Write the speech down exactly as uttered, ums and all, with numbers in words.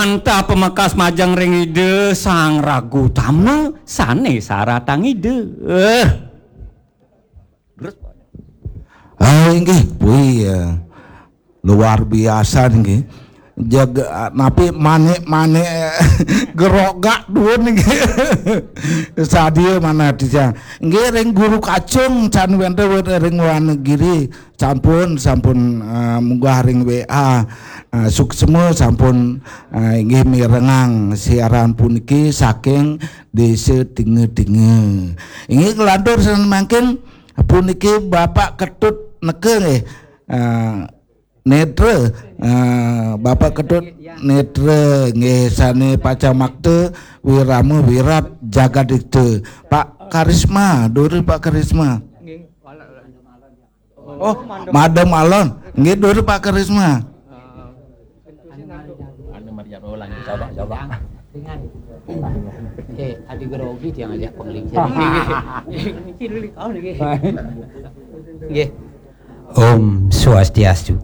Mantap, pamekas majeng ring Ida Sang Ragu Tama sane saratang Ida. Eh. Ah, inggih, puih, ya. Luar biasa nggih. Jaga napi manik-manik gerogak duun nggih. Sadia manah titiang. Nggih ring Guru Kacung can wenten ring Wanagiri. Sampun, sampun, eh, munggah ring W A. Eh, suksma sampun, eh, inggih mirengang siaran puniki saking Desa Tinga-Tinga. Inggih kelantur sané mangkin puniki Bapak Ketut neka nggih. Eh, Netra, eh, Bapak Ketut Netra nggih sané pacamakta wirama wirat jagadikta. Pak Karisma, durus Pak Karisma. Oh, Madam Alon. Nggih, durus Pak Karisma. Anu Maria Roland, coba, coba. Dengan. Eh, adi grogi dia ngajak penglincir. Penglincir dulu kau nih. Nggih. Om Swastiastu.